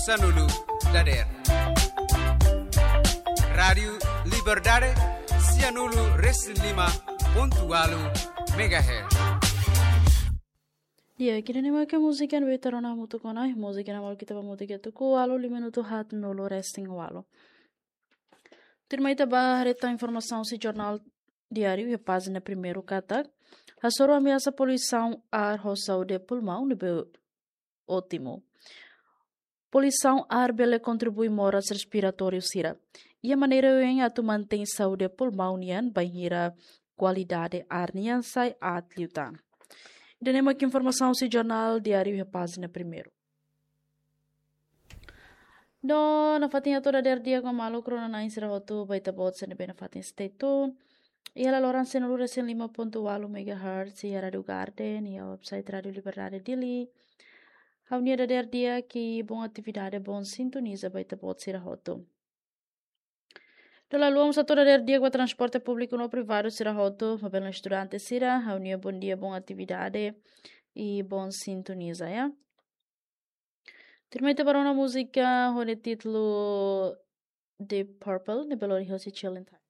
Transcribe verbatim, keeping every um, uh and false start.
Sanulu dader. Rádiu Liberdade, sianulu resin lima pontu walu megahertz. Di'ak, ida-ne'e mak múzika ne'ebé ita rona hamutuk ona, múzika ne'ebé ita ba múzika tuku walu, lima minutu haat nulu resin walu. Tuirmai ita ba haree tan informasaun husi Jornál Diáriu iha pájina primeiru katak, hasoru ameasa poluisaun ar ho saúde pulmaun ne'ebé ótimu. Poluisaun ar bele kontribui moras respiratóriu sira. Iha maneira oioin atu mantein saúde pulmaun nian bainhira kualidade ar nian sai aat liután. Ida-ne'e mak informasaun husi Jornál Diáriu iha pájina primeiru. No, nafatin atu dader di'ak ho maluk rona-na'in sira hotu, ba ita-boot sira ne'ebé nafatin stay tuned. Iha laloran sianulu resin lima pontu walu megahertz, iha Rádiu Garden, iha website Rádiu Liberdade Dili. Ha'u-nia dader di'ak i boa atividade, boa sintonizasaun ba ita-boot sira hotu. Dala ruma mós atu dader di'ak ba transporte públiku no privadu sira hotu, maibé no estudante sira, ha'u-nia bondia, boa atividade i boa sintonizasaun, ya. Tuirmai ita ba rona múzika ho nia títulu Deep Purple, ne'ebé lori hosi Chilling Time.